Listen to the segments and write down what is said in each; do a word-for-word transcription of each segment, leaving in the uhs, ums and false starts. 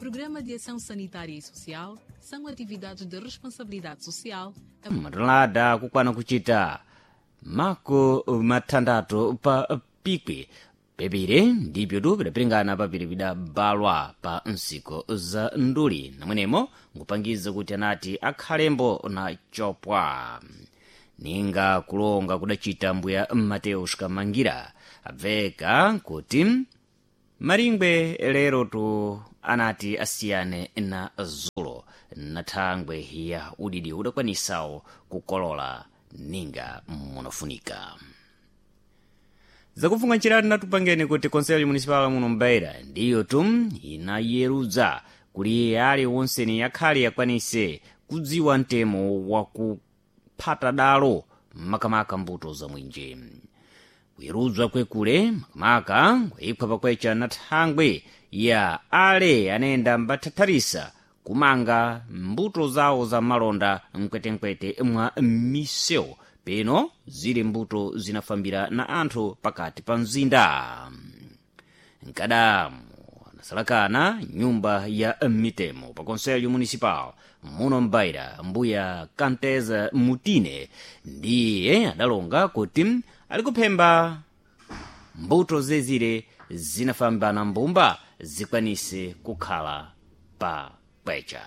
Programa de Ação Sanitária e Social são atividades de responsabilidade social. Matonelada kukwana kuchita mako mathandathu pa pikwi pepire ndipyo tu pidapiringana papiri pidabalwa pa nsiko za nduli namwenemo nkupangiza kuti anati akhalembo na chopwa ninga kulonga kudachita mbuya Mateus Kamangira abveka kuti maringwe lero tu anati asiyane na zulo na thangwe ya udidi udakwanisawo kukolola ninga munofunika. Zakufunga nchiratu natupangeni kuti konselho municipal muno mbaira ndiyo tu inayerudza kuli ali wonseni yakhale yakwanise kudziwa mtemo wakuphata dalo makamaka mbuto za mwinje. Kuyerudzwa kwekule makamaka kwaipha pakwecha na thangwe ya ale anayenda mbathatharisa kumanga mbuto zawo za malonda mkwetenkwete mwa misewu peno zili mbuto zinafambira na anthu pakati pa mzinda. Nkadamu anasalakana nyumba ya mitemo pa konselho municipal muno mbaira mbuya Kanteza Mutine ndiye adalonga kuti alikuphemba mbuto zezire zinafambana mbumba zikwanise kukhala pa kwecha.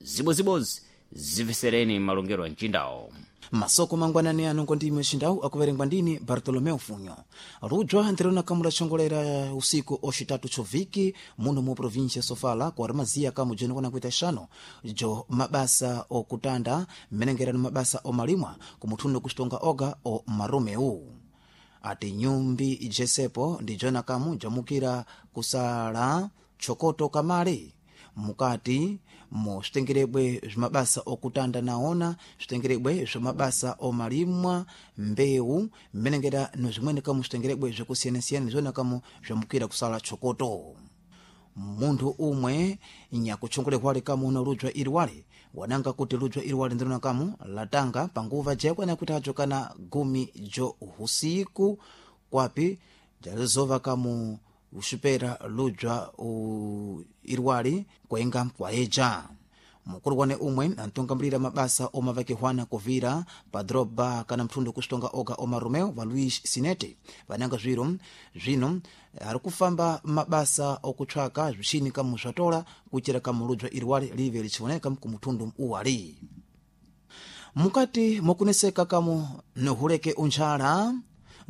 Zibozibozi zimvesereni malongero a mcindawo. Masoko mangwanani ano ngondimwe xindau akuverengwa ndini Bartolomeu Funyo. Rujwa ndirona kamula xongolera usiku oxitatu choviki muno mu província Sofala ku armazia kamu jenokona kuita xano jo mabasa okutanda mmenengerano mabasa omalimwa kumuthundo kuxitonga oga o maromeu. Ati nyumbi jesepo ndi jona kamu jamukira kusala chokoto kamale mukati mu svitengerebwe zvimabasa okutanda naona svitengerebwe zvimabasa omalimwa mbewu mmenengera nozvimweni kamu svitengerebwe zvekusiyana-siyana ndizvona kamu zvamukira kusala chokoto. Munthu umwe nyakutchongolehwale kamu una ludzwa iliwale wananga kuti ludzwa iliwale ndirona kamu latanga panguva jayakwana kuti ajo kana gumi jo usiku kwapi jalizova kamu uxupera ludzwa iriwali kuenga kwaeja. Mukulu wane umwe antungambilira mabasa omavakihwana kuvira pa droba kana mthundu kuxitonga oga oma Romeo va Luis Sinete vananga zwiro zwino ari kufamba mabasa okutshwaka zwixini kamu zwatola kuchira kamu ludzwa iriwali live lichioneka kumuthundu uwali. Mukati mokuneseka kamu nohuleke untchala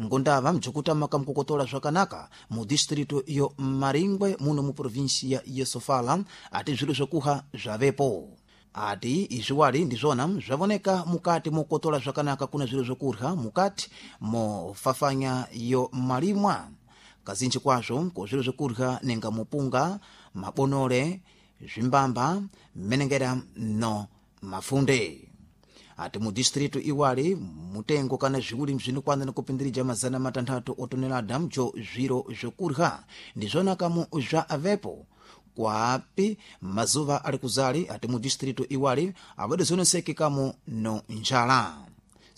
ngondava mjukutama kamkukotola zvakanaka mu distrito yo Maringwe muno mu província ya Sofala ati zviro zvokuha zvavepo. Ati izviwali ndizvona zvavoneka mukati mokotola zvakanaka kuna zviro zvokurya mukati mofafanya yo malimwa kazinji kwazvo ko zviro zvokurya nenga mupunga mabonore zvimbamba mmenengera no mafunde. Ati mu distrito iwali mutengo kana zviwuli zvinokwana nekupindirija mazana matanthatu otonelada mjo zviro zvokurya ndizvona kamu zva avepo kwapi mazuva ali kuzali. Ati mu distrito iwali awadizoneseke kamu no njala.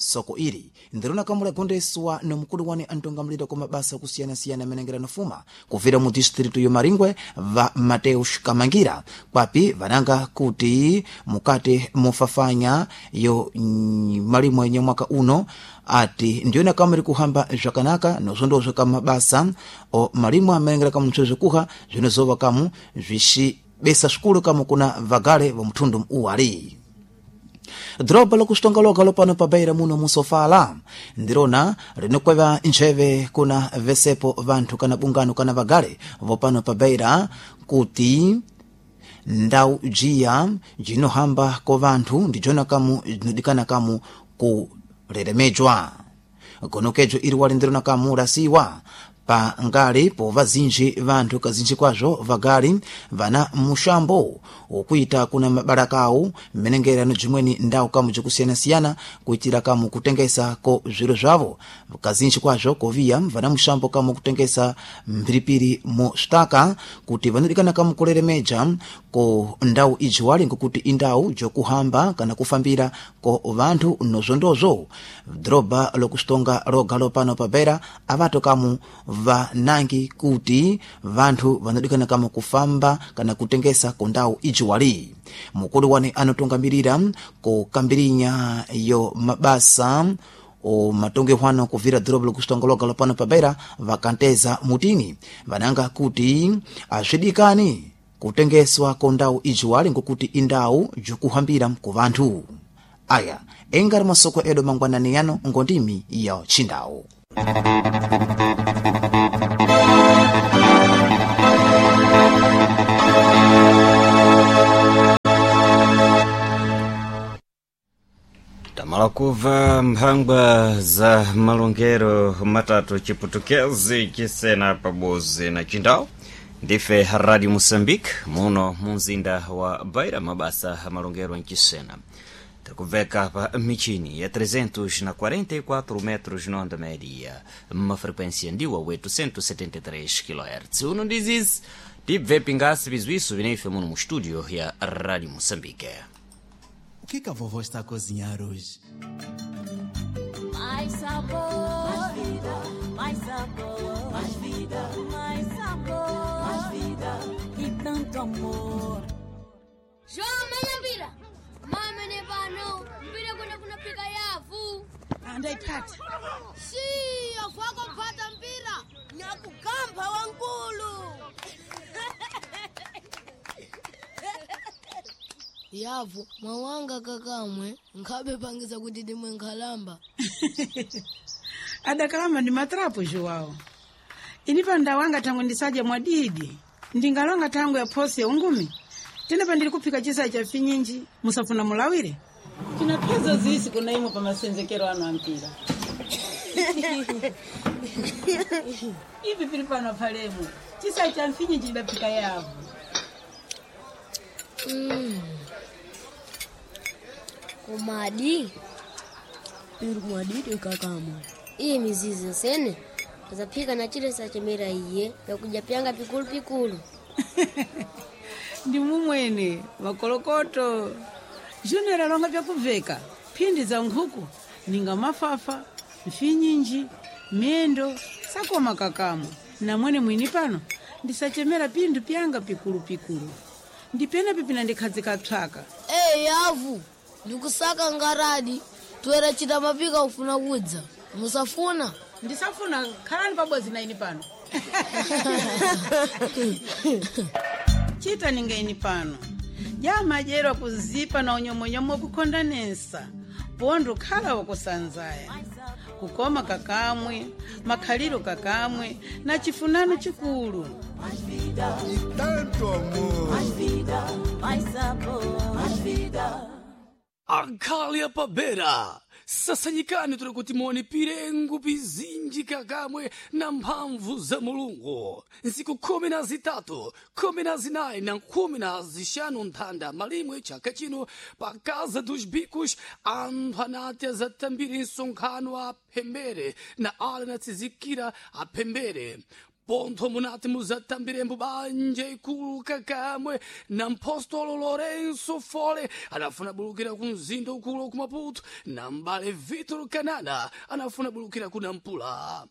Soko ili ndirona kamu lagondeswa no mukulu wane antongamulira kwa mabasa kusiyana-siyana amenengera nofuma kuvira mu distrito yo Maringwe va Mateus Kamangira kwapi vananga kuti mukati mofafanya yo malimwe yenye mwaka uno ati ndiyona kamu iri kuhamba zvakanaka nozvondozvo kamabasa o malimwe amenengera kamu ntchito zvokuha zvinozova kamu zvixibesa svikulu kamu kuna vagale va mthundu uwali. Droba lokuxitonga loga lopano pabeira muno musofala ndirona linokweva ntcheve kuna vesepo vanthu kana bungano kana vagale vopano pabeira kuti ndau jiya jinohamba ko vanthu ndijona kamu jinodikana kamu kuleremejwa. Gonokejo iri wali ndirona kamu lasiwa pa ngali po vazinji vanthu kazinji kwazvo vagali vana muxambo wokuita kuna mabalaka awo mmenengerano jimweni ndau kamu jikusiyana-siyana kuitira kamu kutengesa ko zviro zvavo kazinji kwazvo koviya vana muxambo kamu kutengesa mphiripiri mu xitaka kuti vanodikana kamu kuleremeja ko ndau iji wali ngokuti indau jokuhamba kana kufambira ko vanthu nozvondozvo. Dhorobha lokuxitonga loga lopano pabera avato kamu Vanangi kuti vanthu vanadikana kama kufamba kana kutengesa ku ndawu ijiwali. Mukulu wane anotungamirira kukambirinya yo mabasa o matongehwano kuvira dhorobo lokusitongologa lopano pabeira vakanteza mutini vananga kuti azvidikani kutengeswa ko ndawu ijiwali ngokuti indawu jikuhambira ku vanthu. Aya engari masoko edu mangwanani yano ngondimi ya chindawu. Tamala kuva mphangwa za malongero matatu chiputukezi chisena pabozi na chindawu. Ndife Radio Moçambique muno munzinda wa Beira, mabasa amalongero mchisena tikubveka pa michini ya trezentos e quarenta e quatro metros na onda média, uma frequência ndiwa oitocentos e setenta e três kilohertz. Uno dizis tibve pingasi bizwiso vineife muno mu estúdio ya Radio Moçambique. O que que a vovó está a cozinhar hoje? Mais sabor, mais vida, mais sabor, mais vida, mais sabor, mais vida e tanto amor. João, menya mpira. Mama ne pano, mpira kwenda kunapika yavu. Andaipata. Shii, wako kupata mpira. Nyakugamba wankulu. Yavu mwawanga kakamwe nkhabe pangiza kuti dimwe nkhalamba. Adakalamba ndi matrapo Joao. Ini pa ndawanga tango ndisadya mwadidi. Ndingalonga tango ya phosi ya ungumi. Tena pandili kuphika chisa cha finyinji musafuna mulawire. Tinapeza zisi kuna imwe pa masenzekero ano ampira. Ivi pili pano palemo. Chisa cha mfinyinji chidaphika yavu. Mm. Kumadi piri kumadidi kakamwe iyi mizizi sene azaphika na chile sachemera iye yakuja pyanga pikulu pikulu. Ndi mumwene makolokoto Junior alonga vyakuveka phindi za nkhuku ninga mafafa mfinyinji miyendo sakoma kakamwe namwene mwini pano ndisachemera pinthu pyanga pikulupikulu ndipena pipina ndikhazika psaka. Ey yavu, ndikusaka ngaradi twera chita mapika ufuna kudza musafuna. Ndisafuna, khalani pabodzi na ini pano. Chita ninga ini pano jamajerwa kuzipa na unyomonyomo wakukhondanesa pondo khala wakusanzaya kukoma kakamwe makhaliro kakamwe na chifunano chikulu. Mais vida, E tanto amor. Mais vida, mais sabor, mais vida. Akhali apabera sasanyikani tuli kuti muone pirengu pizinji kakamwe na mphamvu za Mulungu. Nsiku khumi na zitatu, khumi na zinayi na khumi na zixanu nthanda malimwe chaka chino pa Casa dos Bicos anthu anati azatambire nsonkhano aphembere na ale anatizikira aphembere pontho munati muzatambirembo banja ikulu kakamwe na mpostolo Lourenço Fole anafuna bulukira ku mzinda ukulu ku Maputo na mbale Vitor Kanana anafuna bulukira ku Nampula.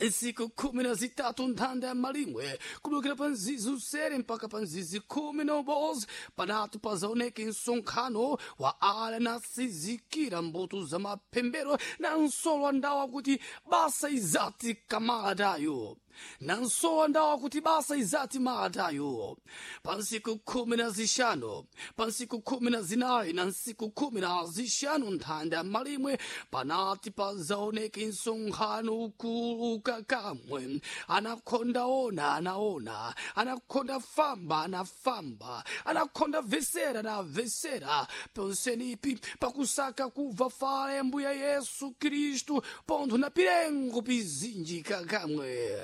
Nsiku khumi na zitatu nthanda ya malimwe kubulukira pa nzizi usere mpaka pa nzizi khumi na ubozi panatu pazaoneke nsonkhano wa ale nasizikira mbuto za maphembero na nsolo ndawa kuti basa izati kamalatayo na nsowa ndawa kuti basa izati malatayo pa nsiku khumi na zixanu, pa nsiku khumi na zinayi na nsiku khumi na zixanu nthanda ya malimwe panati pazaoneke nsonkhano ukulu kakamwe anakhonda ona anaona, anakhonda famba anafamba, anakhonda vesera anavesera ponsenipi pakusaka kubva fala ya mbuya Yesu Khristu pontho na pirengo pizinji kakamwe.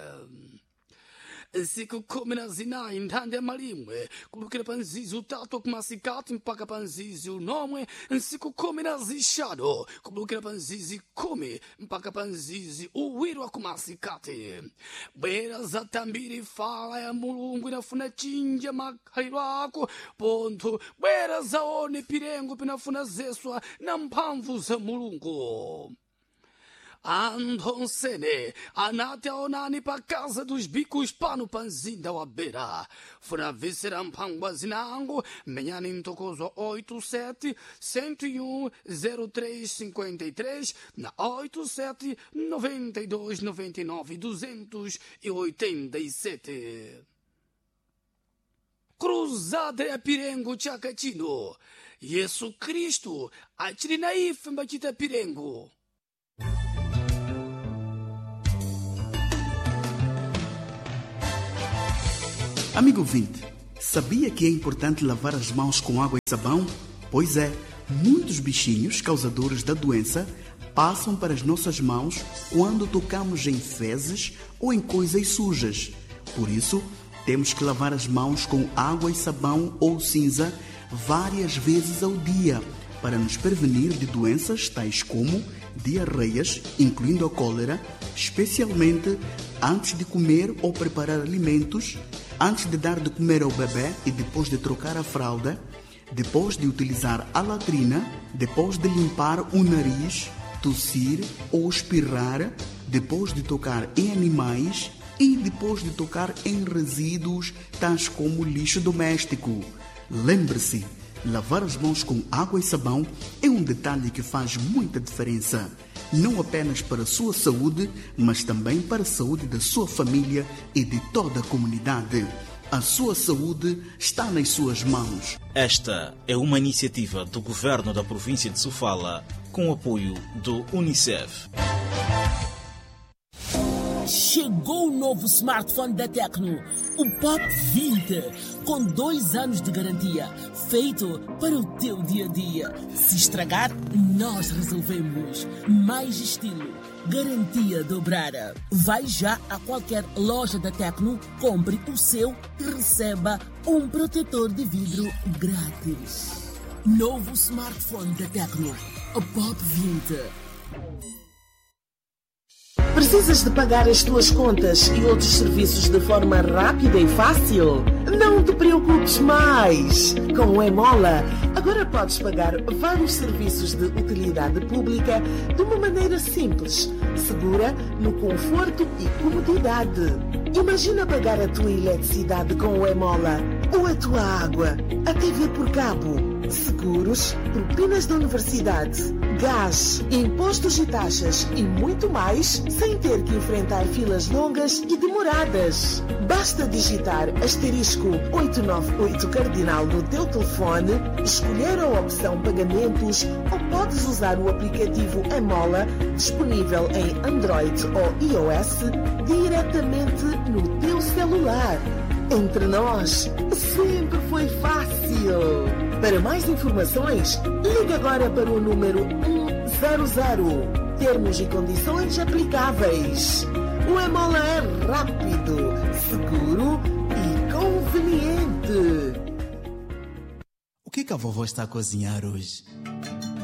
Nsiku khumi na zinayi nthanda ya malimwe kubukira pa nzizi utatu kumasikati mpaka pa nzizi unomwe. Nsiku khumi na zixanu kubukira pa nzizi khumi mpaka pa nzizi uwiri wa kumasikati. Bwera zatambiri fala ya Mulungu inafuna chinja makhaliro ako pontho bwera zaone pirengo pinafuna zeswa na mphamvu za Mulungu. Anthu onsene anati aonani pa casa dos bicos pano pa mzinda wa Beira. Funabvisira mphangwa zinango menyani mtokozo oito sete cento e um zero três cinquenta e três na oito sete noventa e dois noventa e nove duzentos e oitenta e sete. Cruzada ya Pirengo chaka chino. Yesu Kristu achili na ife mbachita Pirengo. Amigo ouvinte, sabia que é importante lavar as mãos com água e sabão? Pois é, muitos bichinhos causadores da doença passam para as nossas mãos quando tocamos em fezes ou em coisas sujas. Por isso, temos que lavar as mãos com água e sabão ou cinza várias vezes ao dia para nos prevenir de doenças tais como diarreias, incluindo a cólera, especialmente antes de comer ou preparar alimentos, antes de dar de comer ao bebê e depois de trocar a fralda, depois de utilizar a latrina, depois de limpar o nariz, tossir ou espirrar, depois de tocar em animais e depois de tocar em resíduos tais como lixo doméstico. Lembre-se, lavar as mãos com água e sabão é um detalhe que faz muita diferença, não apenas para a sua saúde, mas também para a saúde da sua família e de toda a comunidade. A sua saúde está nas suas mãos. Esta é uma iniciativa do governo da província de Sofala, com o apoio do Unicef. Chegou o novo smartphone da Tecno, o Pop vinte, com dois anos de garantia, feito para o teu dia a dia. Se estragar, nós resolvemos. Mais estilo, garantia dobrada. Vai já a qualquer loja da Tecno, compre o seu e receba um protetor de vidro grátis. Novo smartphone da Tecno, o Pop vinte. Precisas de pagar as tuas contas e outros serviços de forma rápida e fácil? Não te preocupes mais! Com o Emola, agora podes pagar vários serviços de utilidade pública de uma maneira simples, segura, no conforto e comodidade. Imagina pagar a tua eletricidade com o Emola, ou a tua água, a T V por cabo, seguros, propinas da universidade, gás, impostos e taxas e muito mais, sem ter que enfrentar filas longas e demoradas. Basta digitar asterisco oito nove oito cardinal no teu telefone, escolher a opção pagamentos ou podes usar o aplicativo Emola, disponível em Android ou iOS, diretamente no teu celular. Entre nós, sempre foi fácil. Para mais informações, ligue agora para o número um zero zero. Termos e condições aplicáveis. O Emola é rápido, seguro e conveniente. O que que a vovó está a cozinhar hoje?